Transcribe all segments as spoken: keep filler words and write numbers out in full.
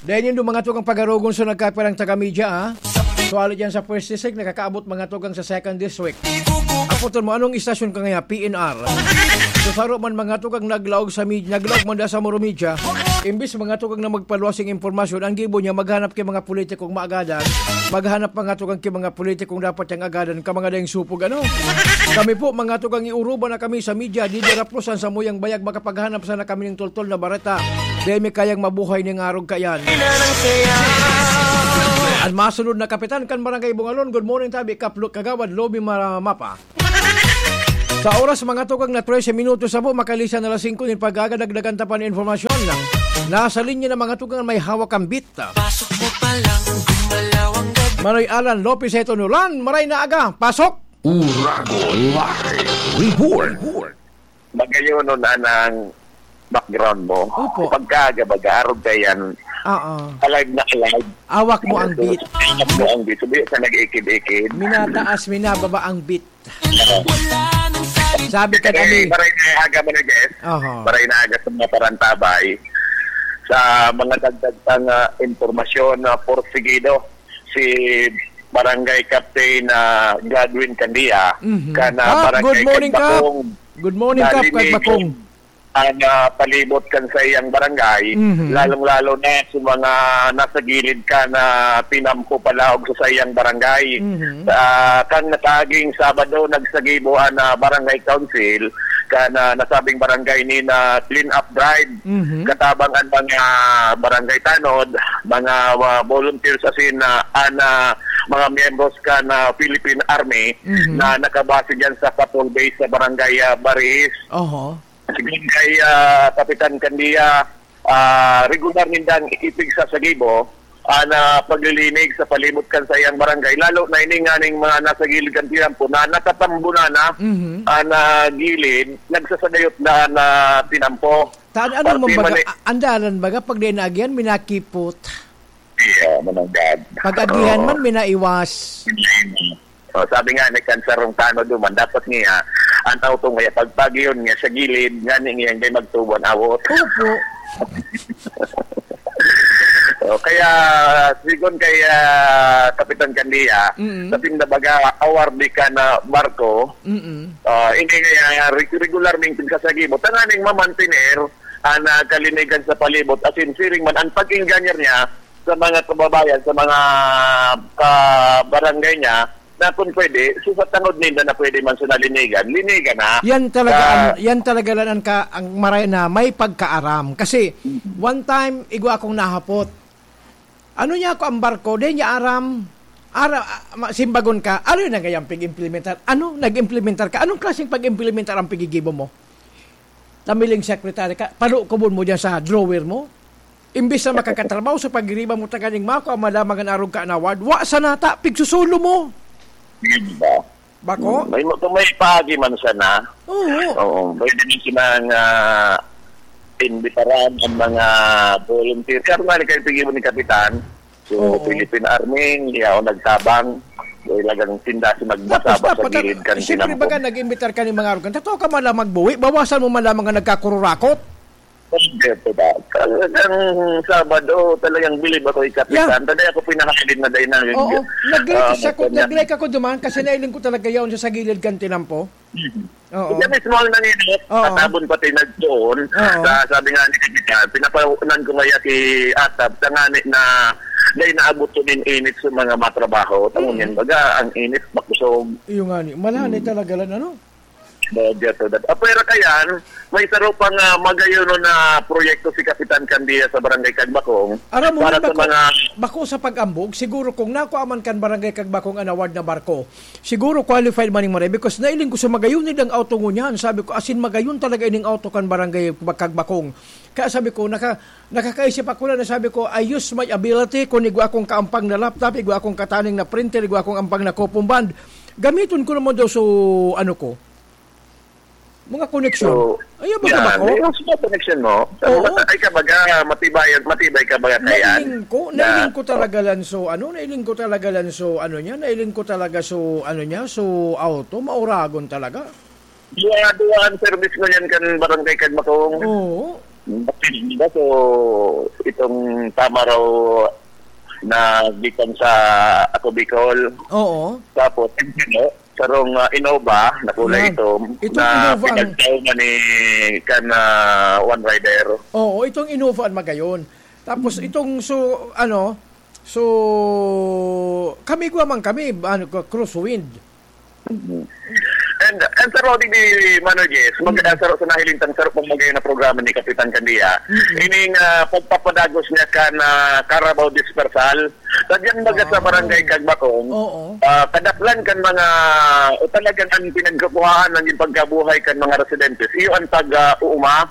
Dahil yun, mga tukang pagarogon, so nagkapirang taga-media, ah. So, ali dyan sa first district, nakakaabot, mga tukang, sa second district. Apoton mo, anong istasyon ka ngayon? P N R. So, saro man, mga tukang, naglaog sa med-, naglaog man da sa Moro Media. Imbis, mga tukang, na magpaluwas yung impormasyon, ang gibo niya, maghanap kay mga politikong maagadan, maghanap, mga tukang, kay mga politikong dapat niyang agadan, ka mga dayang supog, ano? Kami po, mga tukang, iuruban na kami sa media, di diraplosan sa muyang bayag, makapaghanap sana kami ng toltol na bareta. Dai mi kayang mabuhay ning arog kayan. An masunod na kapitan kan Barangay Bungalon, good morning, tabi, Kaplo, Kagawad Lobby Mara-, Mapa. Sa oras, mga tukang, na trese minutos na po, makalisan na alas singko nin pagkagadagdagan ta pa nin informasyon. Nasa linya na, mga tukang, may hawak ang beat. Pasok mo pa lang, gumalaw ang gabi. Manoy Alan Lopez, eto nulan, maray na aga, pasok! Uragon Live Report. Magayon nun, anang background mo. Opo. Pagkaaga, baga, arog ka yan. Oo. Alive na alive. Awak mo ang beat. Awak mo ang beat. Sabi sa nag-ikid-ikid. Minataas, minababa ang beat. Sabi ka, eh, kami. Maray na aga mo na, guys. Oho. Maray na aga sa mga parantabay. Sa mga dagdag pang, ah, impormasyon na porsigido, si Barangay Captain, ah, Godwin Candia, Mhm. kana Ah, Barangay good morning, Kap. Kagbakong, Good morning, Kap, nalinig Kagbakong. ang, ah, palibot kan saiyang barangay, Mhm. lalong-lalo na sa mga nasa gilid kan, ah, tinampo palaog sa saiyang barangay. Mhm. Ah, kan nakaaging Sabado, nagsagibo an, ah, barangay council kan, ah, nasabing barangay nin, ah, clean up drive. Mhm. Katabang an mga barangay tanod, mga, ah, volunteers asin, ah, an, ah, mga miyembros kan, ah, Philippine Army Mhm. na nakabase diyan sa patrol base sa barangay, ah, Baris. Oho. Sigon kay, ah, Kapitan Candia, ah, regular nindang ipigsasagibo an, ah, paglilinig sa palibot kan saiyang barangay, lalo na ini nganing mga nasa gilid kan tinampo na natatambo na na Mhm. an, ah, gilid, nagsasagayot na an, ah, tinampo. Ta-, ano Parte man man, eh. a-, andalan baga pag di naagihan, minakipot. Iya, mananggad. Pag agihan Oo. man, minaiwas. Oh, sabi nga ni Kansarong Tano duman, dapat niya, ang tao tong kaya pagpagiyon niya sa gilid, ngani niya hindi magtubo ang awot. Opo. Oh, kaya, sigon kay, ah, Kapitan Candia, Mm. sa pindabaga, awar di ka na barko, Mm. ah, hindi nga, ah, reg-, regular ming pinagsasagibot. Tanganing mamantener, ah, na kalinigan sa palibot. As in, siring man, ang pag-inganyan niya sa mga kababayan, sa mga kabarangay niya, na kung pwede, so sa tangod ninda na pwede man sa nalinigan, linigan na. Yan talaga Sa ang, yan talaga lang ang ka-, ang maray na may pagkaaram. Kasi, Mm. one time, igwa akong nahapot. Ano niya ako ang barko? Di niya aram. Ara, ah, ma-, simbagon ka, ano yun ang gayang pig-implementar? Ano? Nag-implementar ka? Anong klaseng pag-implementar ang pigigibo mo? Tamiling sekretary ka, palukubon mo dyan sa drawer mo. Imbis na makakatrabaho sa pagiriba mo, taganing mako ang malamang an arog ka an award, wa sa nata, pigsusolo mo. Di ba? Bako? Hmm, may, kung may paagi man sana, Oo. oo, pwede din silang, ah, imbitaran ang mga volunteer. Kaya nga, nagkaipigibo ni Kapitan, so, Oo. Philippine Army, yaon nagtabang, talagang tinda si Tapos magbasa-basa dapat, gilid kan siyempre, tinampo. Baga nag-imbitar ka ni mga arugan. Totoo ka man lang magbuwi, bawasan mo man lamang ang nagkakururakot. Hindi po ba? Talagang Sabado, talagang bilib ako, Kapitan. Yeah. Talagang ako pinakahalin na dahil na Oo. Nag-like ah, siya ko, kanya. Nag-like ako duman kasi nailing ko talaga yaon siya sa gilid kan tinampo. Mhm. Oo. Siya mismo ang nanginit, Oo. tatabon pati nagdoon. Oo. Sa, sabi nga ni Kapitan, pinapahunan ko kaya si Atab, tangani na dahil naabot ko din init sa mga matrabaho. Tamo Mm. yan, baga, ang init, makusog. Iyo nga ni, malani Mm. talaga lang, ano? Bagya to, dat-, ah, pero kayan, may saro pang, ah, magayon na proyekto si Kapitan Candia sa Barangay Kagbakong Aram mo, para sa bako, mga bako sa pag-ambog, siguro kung nakuha man kan Barangay Kagbakong an award na barko, siguro qualified man ning maray because nailing ko sa magayon nindang auto ngunyan. Sabi ko, "Asin magayon talaga ining auto kan Barangay Kagbakong." Kaya sabi ko, naka-, nakakaisip ako na, na sabi ko, "I use my ability, kung igwa akong kaampang na laptop, igwa akong kataning na printer, igwa akong ampang na coupon bond, gamiton ko naman daw so, ano ko, mga koneksyon." So, Ayaw ba yan, ba ako? Yung sa connection mo, Oo. mata-, ay ka baga, matibay, matibay ka baga, kaya Nailing ko, na, nailing ko talaga lang so, ano, nailing ko talaga lang so, ano niya, nailing ko talaga so, ano niya, so auto, mauragon talaga. Duwa, duwa ang service mo yan kan Barangay Kagmakong. Oo. Batilda, so itong tama raw na gikan sa Ako Bicol. Oo. Tapos, ano, sarong, ah, Innova na kulay Yan. itom Itong na Innova ang pinagtaw na ni kan, ah, One Rider. Oo, itong Innova ang magayon. Tapos itong so, ano, so, kami gwa man kami, ano, crosswind. Mhm. And, and sa Rodi di Mano Jess, mag-, Mm. ah, sa, sa nahiling tang sarap mong magay na programa ni Kapitan Candia, Mm. ining, ah, pagpapadagos niya kan, ah, Carabao Dispersal. Sa diyan baga sa Wow. Barangay Cagbacong, Oo. ah, kadaklan kan mga, o talagang ang pinagkukuhaan ng pagkabuhay kan mga residentes, iyo ang pag, ah, uuma.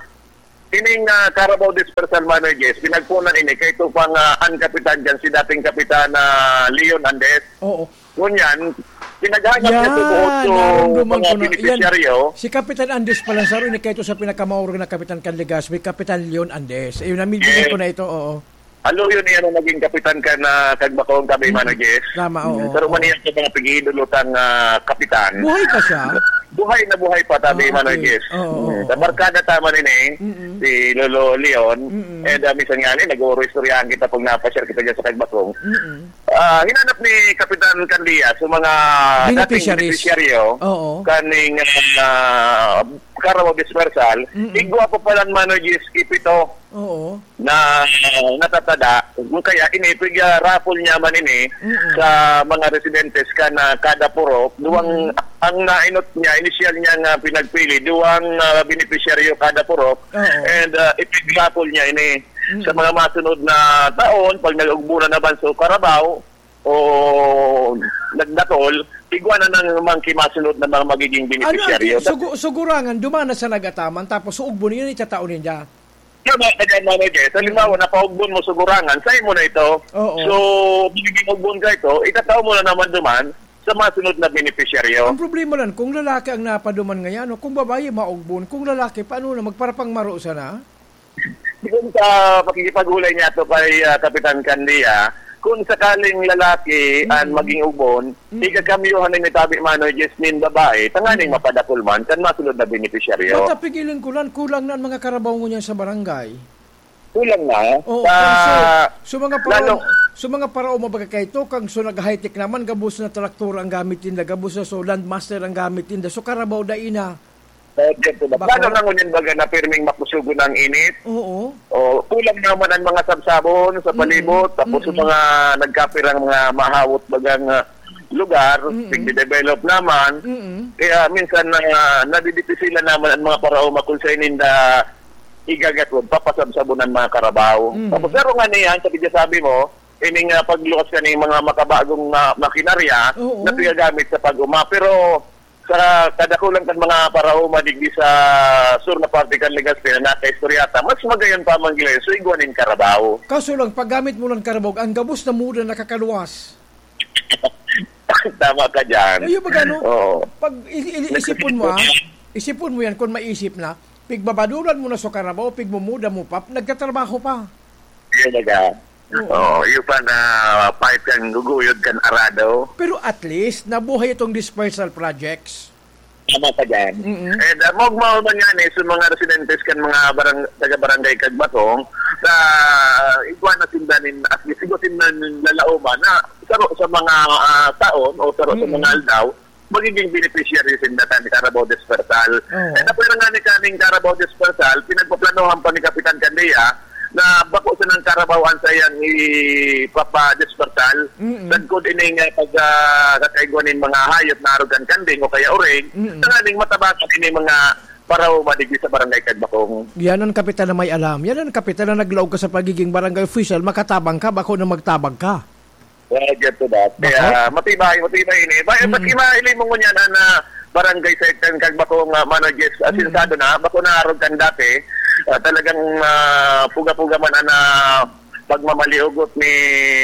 Ining, ah, Carabao Dispersal Mano Jess, pinagpunan ini kay ito pang, ah, ang kapitan dyan, si dating Kapitan, ah, Leon Andes. Oo. Ngunyan, pinaghanap niya Yan, sa buot yung narumduman mga ko na. Yan, benepisyaryo. Si Kapitan Andes pala, sa rin, kaya ito sa pinakamauro na Kapitan kan Legazpi, Kapitan Leon Andes. Ayun, namimili Yes. ko na ito, oo. Alo yun yan ang naging kapitan kan, ah, Cagbacong, Cabe, Mm. Mano Jess. Tama, oo, Pero oo. maniyan sa mga pag-iidolo tang, ah, kapitan. Buhay pa siya? Buhay na buhay pa, tabi, Ah, Mano okay. Jess. Oo, Mm. oo, Sa oo. barkada tama rin eh, Mm-mm. si Lolo Leon. Mm-mm. And, ah, minsan nga ni, nag-uuro istoryahan kita pag napasyal kita dyan sa Cagbacong. Mm-mm. Ah, hinanap ni Kapitan Candia sa mga dating Beneficiaries. benepisyaryo Oo. kaning, ah, Carabao Dispersal. Mm-mm. Igwa pa pala, Mano Jess, ipito Oo. na natatada. Kaya ini, pig-, ah, raffle niya man ini Mm-mm. sa mga residentes kan, ah, kada purok. Duwang, Mm-mm. ang nainot niya, inisyal niya nga pinagpili, duwang, ah, benepisyaryo kada purok. Oo. And, ah, ipig-raffle niya ini. Mm. Sa mga masunod na taon, pag nag-ugbo na naman sa Carabao o nagdakol, igwa na ng mga kimasunod na mga magiging Ano ang benepisyaryo. ki-, sugu-, sugurangan, duman na sa nagataman, tapos suugbo niya, itatao ninda. Tama ka dyan, Mano Jess. Halimbawa, Mm. napaugbon mo sugurangan, sa imo na ito. Oo. So, binigyan ugbon ka ito, itatao mo na naman duman sa masunod na benepisyaryo. Ang problema lang, kung lalaki ang napaduman ngayon, no? Kung babae, maugbon. Kung lalaki, paano na? Magparapangmaro sana? Doon sa pakikipag-ulay niya to kay, ah, Kapitan Candia, kung sakaling lalaki Mm. ang maging ugbon, Mm. ikakamyohan ni tabi Mano Jess nin babae, tanganing Mm. mapadakol man, kan masunod na benepisyaryo. Matapigilan ko lang, kulang na ang mga karabaw ngunyan sa barangay. Kulang na. Oo, Sa, kung so, so mga parao, lalo so mga parao, mabaga kayo to, kang so nag-high-tech naman, gabos na traktor ang gamit ninda, gabos na so Landmaster ang gamit ninda. So karabaw, dai na. Sa dyan po ba? Bako? Lalo na ngunyan baga na pirming makusugon ang init. Oo. O, kulang naman ang mga sabsabon sa Mm-mm. palibot, tapos yung Mm-mm. mga nagkapirang mga mahawot bagang, ah, lugar, Mm-mm. nagde-develop naman. Mm-mm. Kaya minsan na, nadidipisilan naman ang mga paraoma kung sa ininda igagatwon, papasabsabon ang mga karabaw. Mm-mm. Tapos, pero nga niyan, sa pagkasabi mo, ining, ah, pagluwas ka ng mga makabagong, ah, makinarya Oo. na pigagamit sa pag-uma. Pero sa kadakulan kan mga paraoma digdi sa sur na parte kan Legazpi na nakaistorya ta, mas magayon pa man gilayon, so igwa nin karabaw. Kaso lang, paggamit mo ng karabaw, ang gabos na muda nakakaluwas. Tama ka dyan. Ayun, pag ano, Oo. pag i-, i-, isipon mo, ah, isipon mo yan, kung maisip na, pigbabadulan mo na sa karabaw, pigmumuda mo pa, nagtatrabaho pa. Yun na ka. Oo. Oo, yung pa na pahit kang guguyod kan arado. Pero at least, nabuhay itong dispersal projects. Tama ka dyan. Mm-mm. And, ah, maugma man yan eh, sa mga residentes kan mga barang-, taga-barangay Kagbatong, sa igwa na sinda nin, at least, igwa sinda nin lalaoman na saro sa mga, ah, taon o saro sa Mm-mm. mga aldaw, magiging beneficiary sinda kan Carabao Dispersal. Oo. And apwera nga ni kaning Carabao Dispersal, pinagpaplanohan pa ni Kapitan Candia na bako sanang Carabao ang sayang ipapa-dispersal. Mm-mm. Sagkod ini nga pag, ah, kakaigwa nin mga hayop na arog kan kanding o kaya urig, Mm-mm. tanganing matabangan ini mga paraoma digdi sa Barangay Kagbakong. Yan ang kapitan na may alam. Yan ang kapitan na naglaog ka sa pagiging barangay official, makatabang ka, bako na magtabang ka. Well, get to that. Bako? Kaya matibay, matibay ini. Ba, Mm. pati mahiling mo ngunyan na barangay sa Itan Kagbakong, ah, Mano Jess, Mm. asensado na, bako na arog kan dati. Ah, talagang, ah, puga-puga man ang, ah, pagmamaliugot ni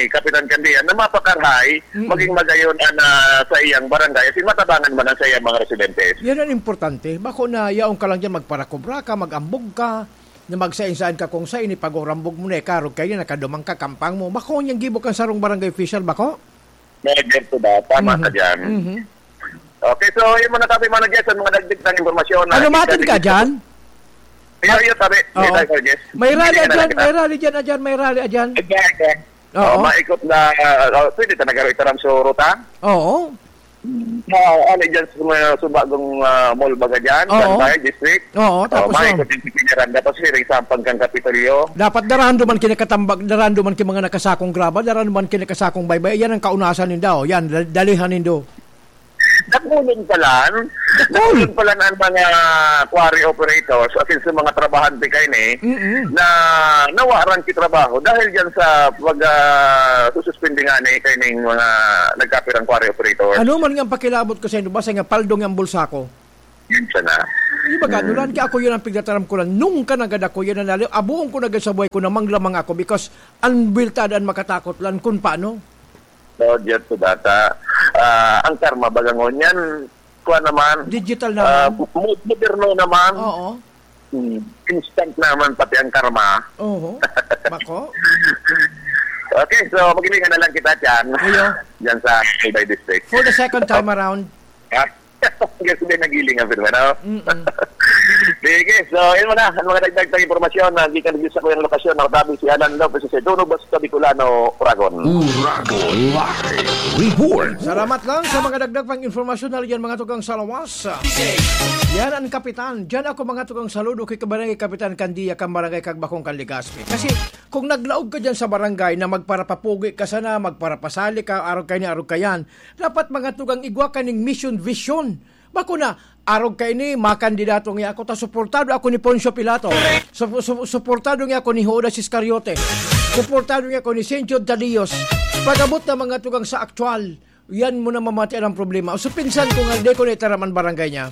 Kapitan Candia na mapakarhay, Mm. maging magayon ang, ah, sa iyang barangay. Asin matabangan man ang sa iyang mga residentes. Yan ang importante. Bako na yaon ka lang dyan, magparakobra ka, mag-ambog ka, na magsain-sain ka kung sain, ipagurambog mo na, ikarog kayo, nakadumang ka, kampang mo. Bako niyang gibo kan sarong barangay official, bako? May get to that. Tama Mhm. ka dyan. Mhm. Okay, so yun muna tabi, Mano Jess, ang mga dagdag na impormasyon na Ano, matin ka dyan? Iyo, iyo, tabi. May Oo. tayo, yes. May rally Hindi ka na dyan, lang may rally dyan, adyan, may rally adyan. Ayan, ayan. Oo. Oh, maikot na, ah, oh, pwede ta nagaro itaram sa ruta? Oo. Ah, ano dyan sa mga subagong, ah, mall baga dyan? Oo. Saan tayo, district? Oo, Oh, tapos, maikot oh. yung pipigaran. Tapos, hiring sampang kang Kapitolyo. Dapat darahan duman kinakatambag, darahan duman ki mga nakasakong graba, darahan duman kinakasakong baybay. Yan ang kaunasan nindo. Yan, dal-, dalihan nindo. Dakulon palan. Dakulon palan ang mga quarry operators, as in sa mga trabahante kaini, Mm-mm. na nawaran ki trabaho dahil dyan sa pag, ah, sususpindi nga ni kaining mga nagkapirang quarry operators. Ano man nga ang pakilabot ko sa inyo, basta nga paldong ang bulsa ko. Yun siya na. Di ba, Mm. ganulan? Kaya ako yun ang pigtataram ko lang. Nung ka nagad ako, yan ang lalo. Abuon ko na sa buhay ko na manglamang ako because ang biltada ang makatakot lang kung paano. No, Diyan po data. Ah, ang karma, baga ngunyan, kuha naman. Digital Ah, naman. mo-, moderno naman. Oo. Hmm, instant naman pati ang karma. Oo. Bako? Okay, so maghilingan na lang kita dyan. Ayo. Dyan sa Albay District. For the second time Oh. around. Ha? Kasi din nagiling ang firma, no? Mm-mm. Sige, so yun muna. Ang mga dagdag na impormasyon na gikan sa kuyang lokasyon, nakatabi si Alan Lopez sa Duno, Basta Bicolano, Uragon. Uragon Live Report. Salamat lang sa mga dagdag pang impormasyon na yan, mga tugang sa lawas. Yan ang kapitan. Diyan ako, mga tugang, saludo kay Kabarangay Kapitan Candia, kang Barangay Kagbakong, kan Legazpi. Kasi kung naglaog ka dyan sa barangay na magparapapugi ka sana, magparapasali ka, arog kaini, arog kayan, dapat, mga tugang, igwa ka ning mission, vision. Bako na, arog kaini, makandidato nga ako, ta suportado ako ni Poncio Pilato. Su-, su-, suportado nga ako ni Judas Iscariote. Suportado nga ako ni Saint Jude Thaddeus. Pag-abot na, mga tugang, sa aktual, yan mo na mamati ang problema. So, pinsan ko nga, di ko naitaram ang barangay niya.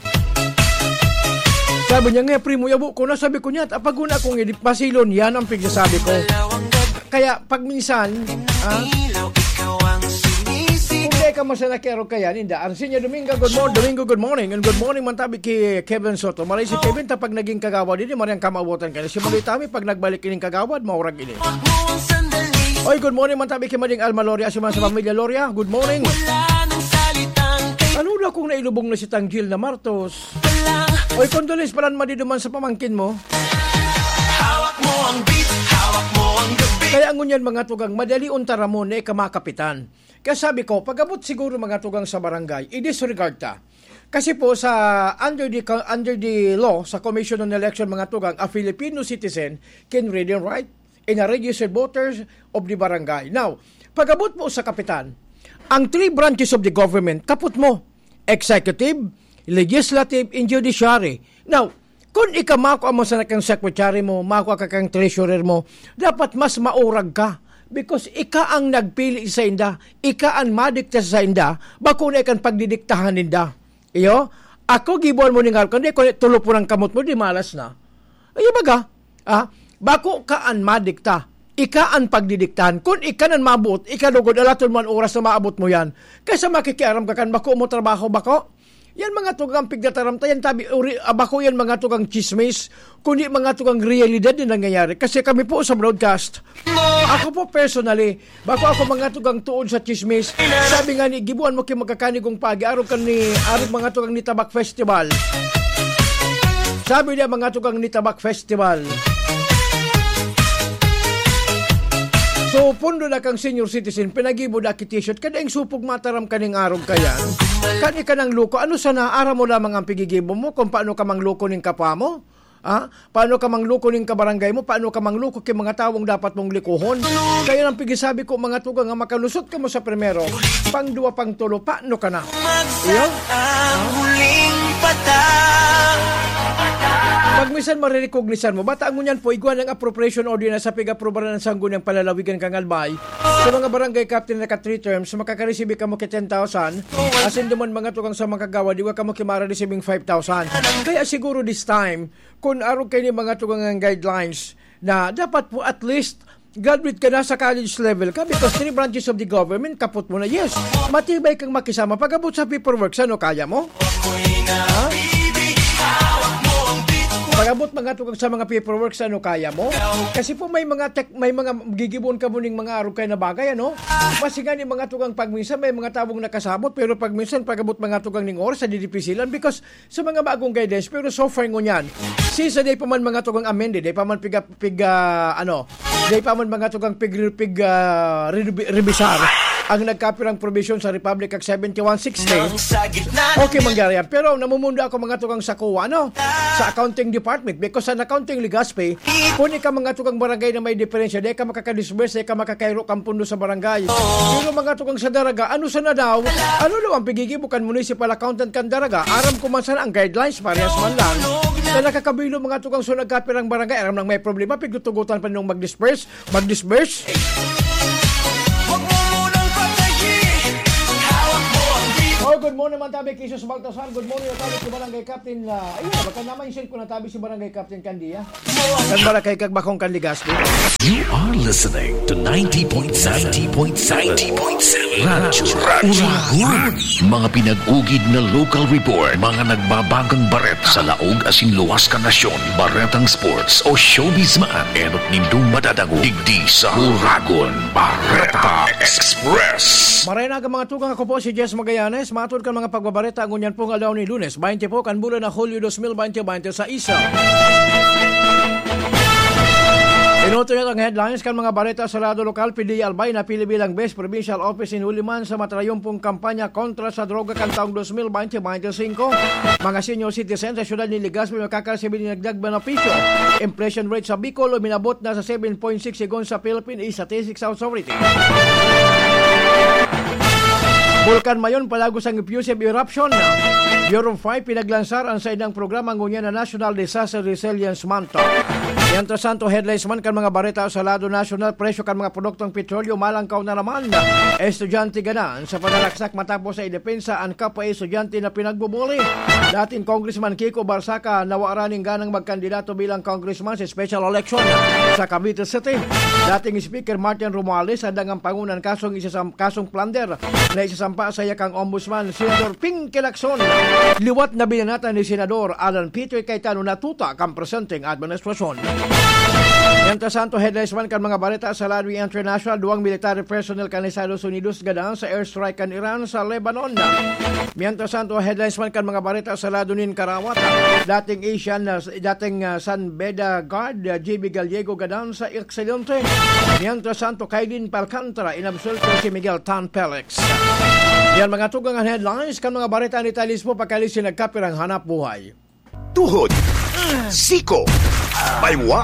Sabi niya, "Nga, primo, yabo ko na." Sabi ko niya, "Apaguna akong idip pasilon." Yan ang pigsasabi ko. Kaya, pag minsan, ah, kung di ka masana kay Arog Kayan, inda. Arsinya Domingo, good morning. Domingo, good morning. And good morning, man tabi ki Kevin Soto. Maray si Kevin, ta pag naging kagawad, hindi maray ang kamawotan ka na. Si Maloy Tami, pag nagbalik ining kagawad, maurag ini. Oy, good morning, man tabi ki Mading Alma Loria, si man sa pamilya Loria. Good morning. Ano na kung nailubong na si Tanggil na Martos? Oy, condolence pala, Madi, duman sa pamangkin mo. Hawak mo ang beat, hawak mo ang gabi. Kaya ngunyan, mga tugang, madali unta ramon na ika makapitan. Kaya sabi ko, pag-abot siguro, mga tugang, sa barangay, i-disregard ta. Kasi po, sa, under the co-, under the law, sa Commission on Election, mga tugang, a Filipino citizen can read and write and a registered voters of the barangay. Now, pag-abot po sa kapitan, ang three branches of the government, kapot mo, executive, legislative, and judiciary. Now, kun ika makua man sana kang secretary mo, makua ka kang treasurer mo, dapat mas maurag ka. Because ika ang nagpili sa inda, ika ang madikta sa inda, bako na ikan pagdidiktahan ninda. Iyo? Ako, gibuan mo ning arog, kundi kun tulo po ng kamot mo, di malas na. Iyo baga? Ah, bako ka an madikta. Ika an pagdidiktahan. Kun ika nan mabuot, ika lugod, alaton mo an oras na maabot mo yan. Kaysa makikiaram ka kan bako mo trabaho, bako? Yan mga tugang pigtataram ta, yan tabi, uri, ah, bako yan mga tugang chismis, kundi mga tugang realidad na nangyayari. Kasi kami po sa broadcast, ako po personally, bako ako mga tugang tuod sa chismis. Sabi nga ni, gibuan mo ki magkakanigong pagi, arog kan ni, arog mga tugang ni Tabak Festival. Sabi niya, mga tugang ni Tabak Festival. So, pundo na kang senior citizen, pinagibo na ki t-shirt, kada yung supog mataram kaning arog kaya. Kan ika nang loko, ano sana, aram mo lamang ang pigigibo mo kung paano ka mangloko ning kapwa mo? Ha? Paano ka mangloko ning kabarangay mo? Paano ka mangloko ki mga tawong dapat mong likohon? Kaya nang pigisabi ko, mga tugang, nga makalusot ka mo sa primero, pang duwa, pang tulo, paano ka na? Iyo? Ang huling patang. Pag minsan marirecognisan mo, bata ngunyan po, igwa ng appropriation order na sa pig-aprobaran ng Sangguniang Palalawigan kang Albay. Sa mga barangay captain na ka three terms, makakaresibi ka mo ki ten thousand. Asin duman mga tugang sa mga kagawad, igwa ka mo ki mara-receiving five thousand. Kaya siguro this time, kun arog kaini mga tugang ang guidelines, na dapat po at least graduate ka na sa college level ka because three branches of the government, kapot mo na. Yes, matibay kang makisama. Pag-abot sa paperwork, ano kaya mo? Ha? Pag-abot mga tugang sa mga paperwork sa ano kaya mo. Kasi po may mga tech, may mga gigibohon ka mo ning mga arog kaya na bagay, ano? Maski nga ni mga tugang pag minsan may mga tawong nakasabot, pero pag minsan pag-abot mga tugang ning oras, sa didipisilan because sa mga bagong guidelines, pero so far ngunyan, since na di pa man mga tugang amended, di pa man piga, piga, ano, di pa man mga tugang pig, pig, ah, rebi-, rebisar ang nagkapirang provision sa Republic Act seventy-one sixty. Okay, mangyari yan. Pero namumundo ako mga tugang sa kuwa, ano? Sa accounting department. Because sa accounting Legazpi, kung ika mga tugang barangay na may diferensya, di ka makakadisburse, di ka makakairo kang pundo sa barangay. Pero mga tugang sa Daraga, ano sana daw? Ano daw ang pigigibo kan municipal accountant kan Daraga? Aram ko man sana ang guidelines, parehas man lang. Na nakakabilo mga tugang sa nagkapirang barangay, aram nang may problema, pigtutugutan pa nung mag-disburse, mag-disburse. Huwag mo munang patayin. Hawak mo ang dibdib. Oh, good morning, man tabi, Jesus Baltasar. Good morning, man tabi, si Barangay Captain, ah, ayun, baka naman yung cellphone na tabi si Barangay Captain Candia. Kan Barangay Kagbakong kan Legazpi. You are listening to ninety point seven, ninety point seven Radyo Uragon. Mga pinag-ugid na local report, mga nagbabagang bareta sa laog asin luwas kan nasyon, baretang sports o showbiz man, enot nindong madadangog digdi sa Uragon Bareta Express. Maray na mga tugang, ako po si Jess Magallanes. Matod kan mga pagbabareta ngunyan pong aldaw ni Lunes, baynte po kan bulan na Hulyo dos mil baynte, baynte sa isa. Inuto niya ang headlines kan mga bareta sa lado lokal. P D Albay napili bilang Best Provincial Office in Huli man sa matrayon pong kampanya kontra sa droga kan taong dos mil baynte, baynte singko. Mga senior citizen sa siyudad ni Legazpi makakaresibir nin dagdag benepisyo. Inflation rate sa Bicol uminabot na sa seven point six segun sa Philippine Statistics Authority. Bulkan Mayon palagos ang effusive eruption. Bureau of Fire pinaglansar ang saindang programa ngunyan na National Disaster Resilience Month. Mientras tanto, headlines man kan mga bareta sa lado nasyonal, presyo kan mga produktong petrolyo malangkaw na naman. Estudyante gadan sa panalaksak matapos sa idepensa an kapwa estudyante na pinagbubuli. Dating Congressman Kiko Barsaca nawaran nin ganang magkandidato bilang congressman sa special election sa Cavite City. Dating Speaker Martin Romualdez, handang ang pangunan kasong isasam-, kasong plunder na isasampa sa iyakang ombudsman, Senator Pinky Lacson. Liwat na binanatan ni Senador Alan Peter Cayetano na tuta kan presenteng administrasyon. Mientras tanto, headlines man kan mga bareta sa lado international, duwang military personnel kan Estados Unidos gadan sa airstrike kan Iran sa Lebanon. Mientras tanto, headlines man kan mga bareta sa lado nin karawat, dating Asian, ah, dating, ah, San Beda guard, ah, J B Gallego gadan sa aksidente. Mientras tanto, kay Lin Palcantara, inabsuelto si Miguel Tan Felix. Yan mga tugang an headlines kan mga bareta ni Talis po pagkalis si nagkapirang hanap buhay. Tuhod, siko, baywa,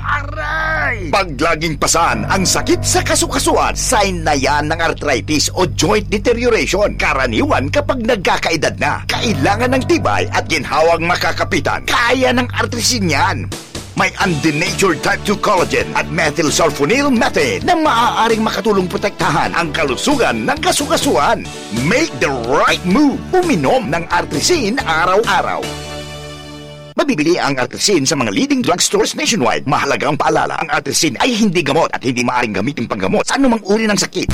aray! Pag laging pasan ang sakit sa kasukasuan, sign na yan ng arthritis o joint deterioration. Karaniwan kapag nagkakaedad na, kailangan ng tibay at ginhawang makakapitan. Kaya ng artrisin yan. May undenatured type two collagen at methylsulfonyl methane na maaaring makatulong protektahan ang kalusugan ng kasukasuan. Make the right move. Uminom ng Artrisin araw-araw. Mabibili ang Artrisin sa mga leading drugstores nationwide. Mahalagang paalala, ang Artrisin ay hindi gamot at hindi maaaring gamitin panggamot sa anumang uri ng sakit.